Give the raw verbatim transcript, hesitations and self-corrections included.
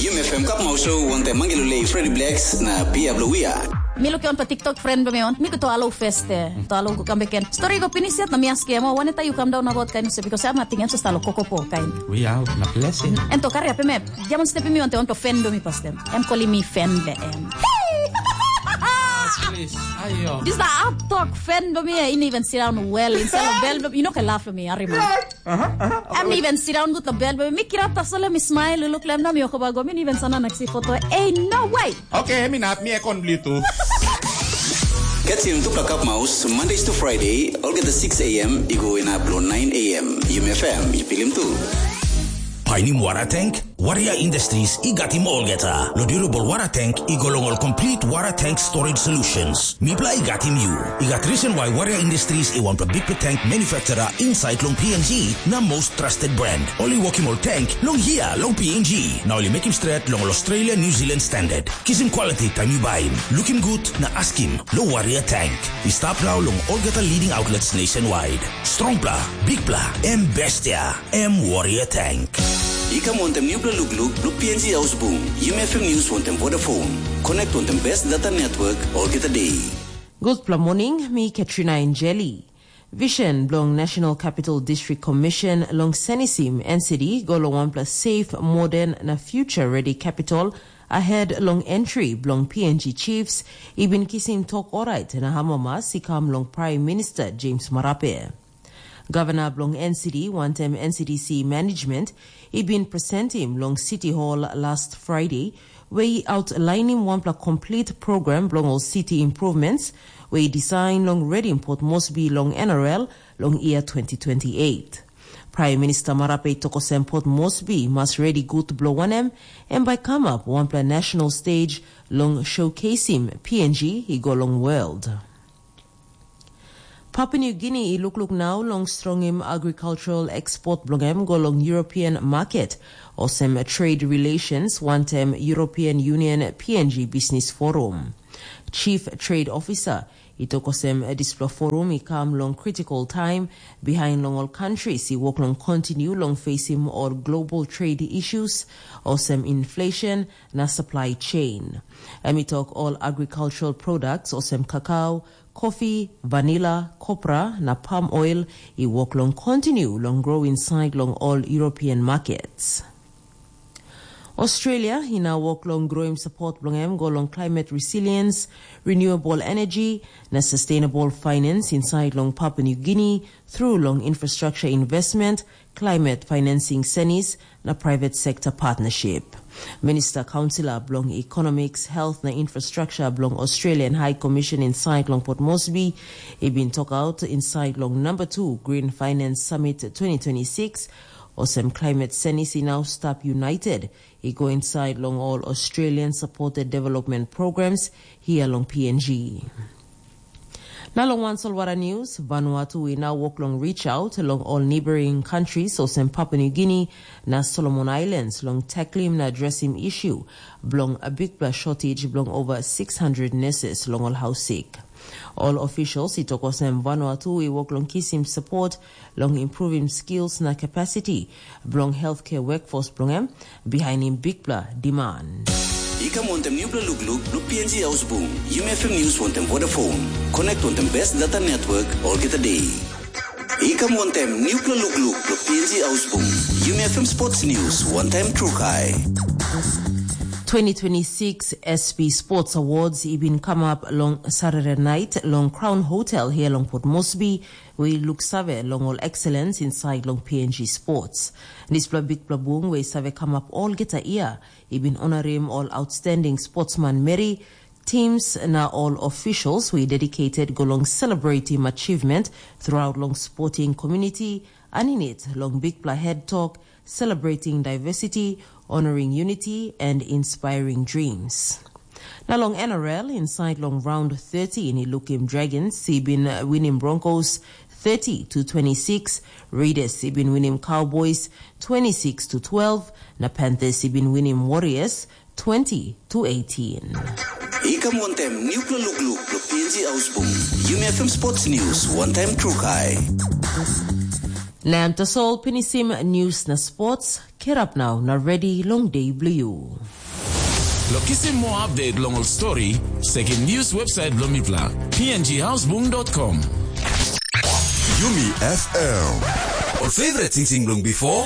Yumi F M Cup Mau Show wantaim Mangi Lulei, Freddy Blacks na Pia Blue Wia. Mi lukim wan pa TikTok friend bilong mi, mi go to alo feste. To alo go kam beken. Story go pinis yet na mi askim, "Oh, waneta yu kam daun about kain se because am ating em sa stalo kokopo kain." We out na blessing. En to kari ape me, jaman stepi mi wantaim wanto fan bilong mi pastem. Em kolim mi fan be em. Please, ayo. Dis na ap tok fan bilong mi, ini even sit down well, inside of bel bilong mi, you know, ke laugh bilong mi, arima. Em even sit down good na bel bilong mi, mi kirap tasol em mi smile, luk lem na mi okoba go, mi even sana naksi foto. Hey, no way! Okay, mi nap, mi ekon bli tu. Catch him Tupla Cup Mouse, Mondays to Friday, olgeta six a m, i go inap lo nine a m. Yumi F M, i pilim tu. Painim wara tank? Warrior Industries i gatim olgeta. Lo durable wara tank i go long ol complete wara tank storage solutions. Mipla i gatim yu. I gat reason why Warrior Industries i wanpela big tank manufacturer inside long P N G na most trusted brand. Ol i wokim ol tank long hia long P N G. Na ol i mekim stret long ol Australia New Zealand standard. Kisim quality taim yu baim. Lukim gut na askim lo Warrior Tank. I stap nau long olgeta leading outlets nationwide. Strongpla, bigpla, em bestia, em Warrior Tank. I kam wantaim nupela lukluk bilong P N G Haus Bung, Yumi F M News wantaim Vodafone. Connect wantaim best data network olgeta day. Gutpela morning, mi Katrina Injeli. Vision bilong National Capital District Commission long senisim N C D go long wanpela safe, modern na future ready capital ahead long entry bilong P N G chiefs i bin kisim tok orait na amamas i kam long Prime Minister James Marape. Gavana bilong N C D wantaim N C D C management i bin presentim long City Hall last Friday, where i outlainim wanpela complete program bilong ol city improvements, where i design long redim Port Moresby long N R L long year twenty twenty-eight. Prime Minister Marape i tok olsem Port Moresby mas redi gut bilong wanem, em bai kamap wanpela national stage long showcasing P N G i go long world. Papua New Guinea i lukluk nau long strongim agricultural export bilong em go long European market, olsem trade relations wantaim European Union P N G Business Forum. Chief Trade Officer i tok olsem dispela forum i kam long critical time, behind long ol countries i wok long continue long facing ol global trade issues, olsem inflation na supply chain. Em i tok ol agricultural products olsem kakao, coffee, vanilla, copra na palm oil i wok long continue long grow inside long ol European markets. Australia i na wok long groim support bilong em go long climate resilience, renewable energy, na sustainable finance inside long Papua New Guinea through long infrastructure investment, climate financing senis, na private sector partnership. Minister Councillor bilong Economics, Health na Infrastructure bilong Australian High Commission inside long Port Moresby, i bin tok out inside long number two Green Finance Summit twenty twenty-six, olsem climate senis i now stap united, i go inside long all Australian supported development programs here long P N G. Na long wan solwara news, Vanuatu i now work long reach out long all neighboring countries olsem Papua New Guinea na Solomon Islands long tackling na addressing issue bilong a big plus shortage bilong over six hundred nurses long all house sick. All officials i tok olsem Vanuatu i work long kisim support long improving skills na capacity bilong healthcare workforce bilong em, bihainim bikpela demand. I kam wantaim nupela lukluk bilong P N G Haus Bung, Yumi F M News wantaim Vodafone. Connect wantaim best data network olgeta day. I kam wantaim nupela lukluk bilong P N G Haus Bung, Yumi F M Sports News wantaim Trukai. Twenty twenty-six S P Sports Awards i bin kamap long Saturday night long Crown Hotel here long Port Moresby, we look save long all excellence inside long P N G sports. Dispela bikpela bung we save kamap olgeta year, i bin honorim all outstanding sportsman meri, teams na all officials we dedicated go long celebrating achievement throughout long sporting community, aninit long bikpela head talk, celebrating diversity, honoring unity, and inspiring dreams. Na long N R L, inside long round thirty, ni lukim Dragons i bin winim Broncos thirty to twenty-six, Raiders i bin winim Cowboys twenty-six to twelve, na Panthers i bin winim Warriors twenty to eighteen. I kam wantaim nupela lukluk bilong P N G Haus Bung, Yumi F M Sports News wantaim Trukai. Na em tasol pinisim news na sports. Herap nau na redi long de bilong yu. Lo kisim moa update long ol stori, sekim news website bilong mipela, p n g houseboom dot com. Yumi F M. Ol favorite sing sing bilong before.